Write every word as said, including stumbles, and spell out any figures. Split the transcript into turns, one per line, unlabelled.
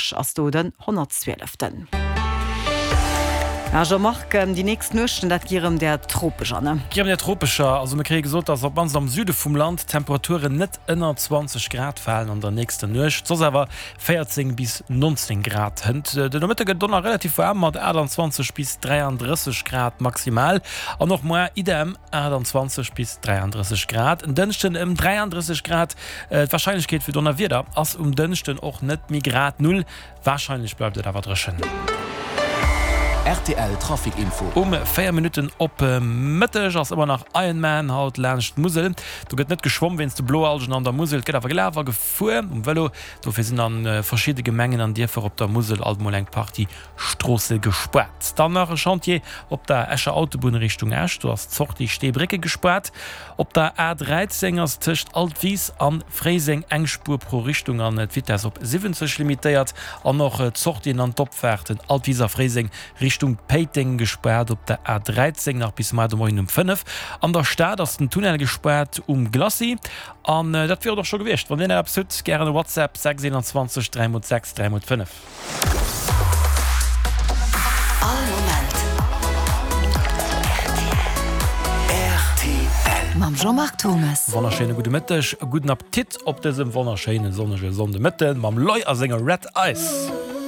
Esch ass do den honnertzwieleften. Ja Jean-Marc, déi nächst Nuechten, dat gi rëm där tropescher, ne?
Gi rëm där tropescher. Also mir kréie gesot, dass op d'mannst am Süde vum Land d'Temperaturen net ënner zwanzeg Grad falen an der nächster Nuecht, soss awer véierzéng bis nonzéng Grad. Hënt de Nomëtte gëtt et och nach relativ waarm mat aachtanzwanzeg bis dräiandrësseg Grad maximal an och moar idem aachtanzwanzeg bis dräiandrësseg Grad. En Dënschden ëm dräiandrësseg Grad. D'Warscheinlechkeet fir Donnerwieder ass um Dënschden och net méi grad null. Warscheinlech bleift et awer dréchen.
Rtl Trafic Info.
Um véier Minutten op Mëtteg ass ëmmer nach Ironman haut laanscht d'Musel. Do gëtt net geschwomm wéinst de Bloalgen an der Musel. Et gëtt awer gelaf a gefuer um Vëlo. Dofir sinn a verschidde Gemengen an Dierfer op der Musel alt mol eng Partie Stroosse gespaart. Dann nach e Chantier op der Escher Autobunn Richtung Esch. Do ass d'Sortie Steebrécke gespaart. Op der A dräizéng ass tëscht Altwis an Fréiseng eng Spuer pro Richtung an d'Vitess op siwwenzeg limitéiert. An och d'Sortien an d'Opfaarten Altwis a Fréiseng Richtung Péiteng gespaart op der A dräizéng nach bis mar de Moien um fënnef. An der Stad ass den Tunnel gespaart um Glacis. An dat wier et och scho gewiescht. Wann dir nach eppes hutt, gären e WhatsApp, sechs eenanzwanzeg dräi mol sechs dräi mol fënnef.
All Moment
rtl.
Mam Jean-Marc Thomes.
Wonnerschéine gudde Mëtteg, gudden Appetit op dësem wonnerschéine sonnege Sonndemëtten mam Loy a senger Red Ice.